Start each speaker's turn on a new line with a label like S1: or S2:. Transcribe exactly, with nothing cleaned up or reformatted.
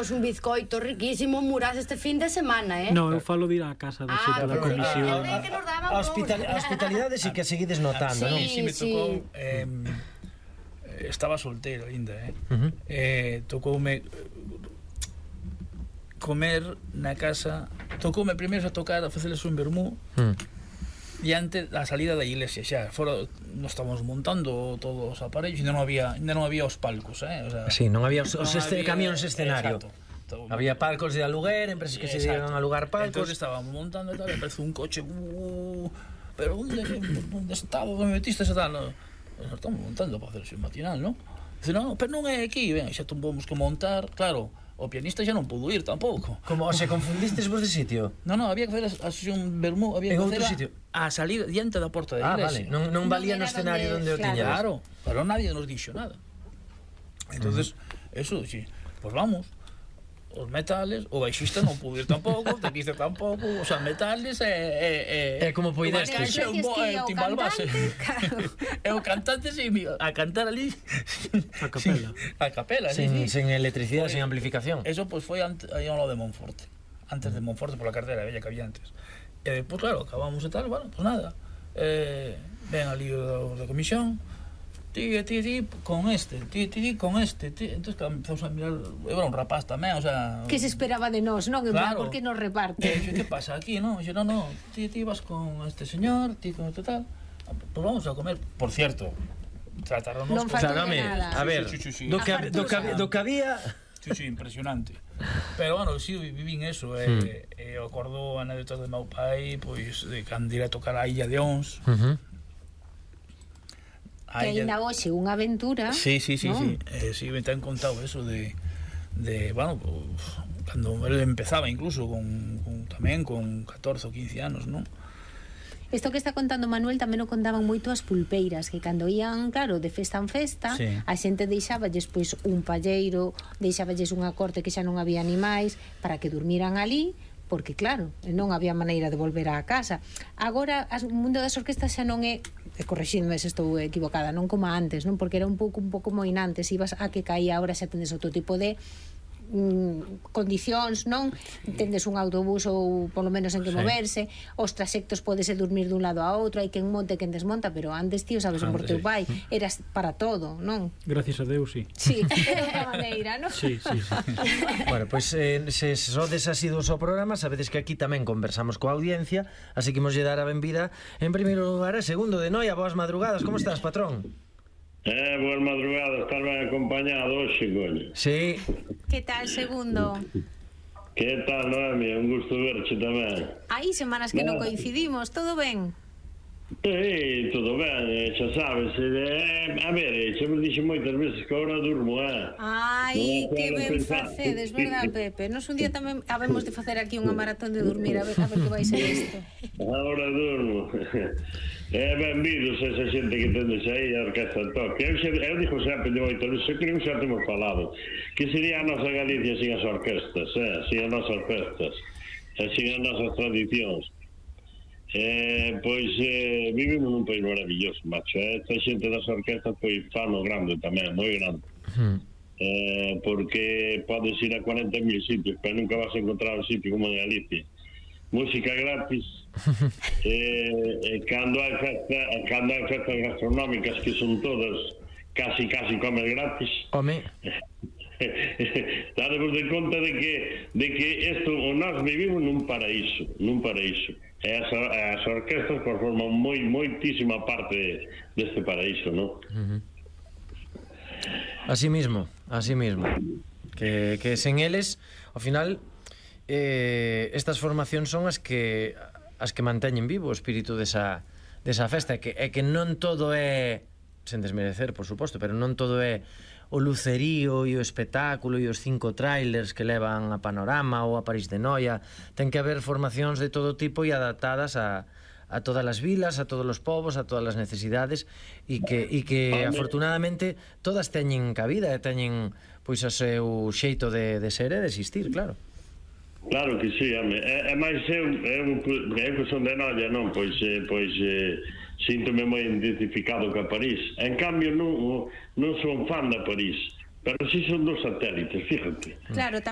S1: comemos un bizcoito riquísimo en Muras este fin de semana, eh?
S2: No, eu falo de ir á casa da xeta da comisión.
S3: A hospitalidade sí que seguides notando, non?
S4: Sí, me tocou... Estaba solteiro ainda, eh? Tocoume comer na casa, tocoume primeiro a tocar, a facerles un vermú diante da salida da iglesia, xa, fora, nos estábamos montando todos os aparellos, ainda non había, ainda non había os palcos, eh? O sea,
S3: sí, non había os, os este, camións escenario.
S4: Exacto.
S3: Había palcos de aluguer, empresas que se dieron a alugar palcos.
S4: Entón estábamos montando e tal, e aparece un coche, uh, pero onde, onde estaba, onde me metiste esa tal? No, nos estamos montando para hacer o matinal, non? Dice, non, pero non é aquí, ben, xa tumbamos que montar, claro. O pianista xa non pudo ir tampouco.
S3: Como, se confundistes vos de sitio?
S4: Non, non, había que facer a sesión vermú, había que facer a salir diante da porta da iglesia.
S3: Ah, vale, non, non valía no escenario onde o tiñades.
S4: Claro, pero nadie nos dixo nada. Entonces, eso, sí, pues vamos. Os metales, o baixista non pudo ir tampouco, o teclista tampouco, os metales e...
S3: É como poidestes.
S4: É o timbal base. É o cantante a cantar ali
S2: a capela.
S4: A capela, sí, sí.
S3: Sen electricidade, sen amplificación.
S4: Eso pois foi aí ao lado de Monforte. Antes de Monforte, pola carretera bella que había antes. E depois, claro, acabamos e tal, bueno, pois nada. Ven ali os da comisión, ti, ti, ti, con este, ti, ti, ti, con este, ti. Entón, empezamos a mirar, eu era un rapaz tamén, o sea...
S5: Que se esperaba de nós, non? En plan, por que nos reparte?
S4: E que pasa aquí, non? E non, non, ti, ti vas con este señor, ti con este tal, pois vamos a comer. Por cierto, trataron nos...
S5: Non faltou de nada.
S3: A ver, do que había...
S4: Sí, sí, impresionante. Pero, bueno, sí, vivín eso, e eu acordo anécdotas de meu pai, pois, de cando ir a tocar a Illa de Ons,
S5: que ainda hoxe unha aventura.
S4: Sí, sí, sí, sí. Eh, sí, me te han contado eso de, de bueno, pues, cando él empezaba incluso con, con tamén con catorce ou quince anos, non?
S5: Isto que está contando Manuel tamén o contaban moito as pulpeiras, que cando ían, claro, de festa en festa, sí, a xente deixáballes pois un palleiro, deixáballes unha corte que xa non había animais para que durmiran ali, porque claro, non había maneira de volver á casa. Agora, o mundo das orquestas xa non é, e correxidme se estou equivocada, non como antes, non? Porque era un pouco un pouco moinantes, ibas a que caía, agora xa tendes outro tipo de mm, condicións, non? Tendes un autobús ou polo menos en que moverse, os traxectos podese dormir dun lado a outro, hai quen monte, quen desmonta, pero antes, tío, sabes, por teu pai, eras para todo, non?
S2: Gracias a Deus, sí.
S5: Sí, de outra maneira, non?
S2: Sí, sí, sí.
S3: Bueno, pois pues, eh, se sodes asiduos ao programa, sabedes que aquí tamén conversamos coa audiencia, así que imos lle dar a benvida en primeiro lugar e segundo de Noia. Boas madrugadas, como estás, patrón?
S6: Eh, boas madrugadas, estás ben acompañado hoxe, coño.
S3: Sí.
S5: Que tal, segundo?
S6: Que tal, Noemi? Un gusto verche tamén.
S5: Hai semanas que non coincidimos, todo ben?
S6: Sí, todo ben, xa sabes. Eh, a ver, xa me dixo moitas veces que agora durmo, eh?
S5: Ai, que ben facedes, verdad, Pepe? Nos un día tamén habemos de facer aquí unha maratón de dormir, a ver, a ver que vai ser isto.
S6: Agora durmo. Eh, benvidos a esa xente que tendes aí, a orquesta toque. Eu, eu dixo sempre de moito, eu creo que xa temos falado, que sería a nosa Galicia sin as orquestas, eh? Sin as nosas festas, sin as nosas tradicións. Eh, pois eh, vivimos nun país maravilloso, macho, eh? Esta xente das orquestas pois fan o grande tamén, moi grande. Uh-huh. eh, porque podes ir a cuarenta mil sitios, pero nunca vas a encontrar un sitio como en Galicia. Música gratis. eh, eh, cando hai festa, cando hai festas gastronómicas que son todas casi casi comes gratis.
S3: Home.
S6: Daremos de conta de que de que isto, nós vivimos nun paraíso, nun paraíso. E as, as orquestas forman moi, moitísima parte deste paraíso, non?
S3: Uh-huh. Así mismo, así mismo. Que, que sen eles, ao final, eh, estas formacións son as que as que manteñen vivo o espírito desa, desa festa, e que, e que non todo é, sen desmerecer, por suposto, pero non todo é o lucerío e o espectáculo e os cinco trailers que levan a Panorama ou a París de Noia. Ten que haber formacións de todo tipo e adaptadas a, a todas as vilas, a todos os povos, a todas as necesidades, e que, e que afortunadamente todas teñen cabida e teñen pois o seu xeito de, de ser e de existir, claro.
S6: Claro que sí, home. É, é máis eu, eu, eu que son de Noia, non? Pois, eh, pois eh, síntome moi identificado ca París. En cambio, non, non son fan da París, pero si son dos satélites, fíjate.
S5: Claro, tamén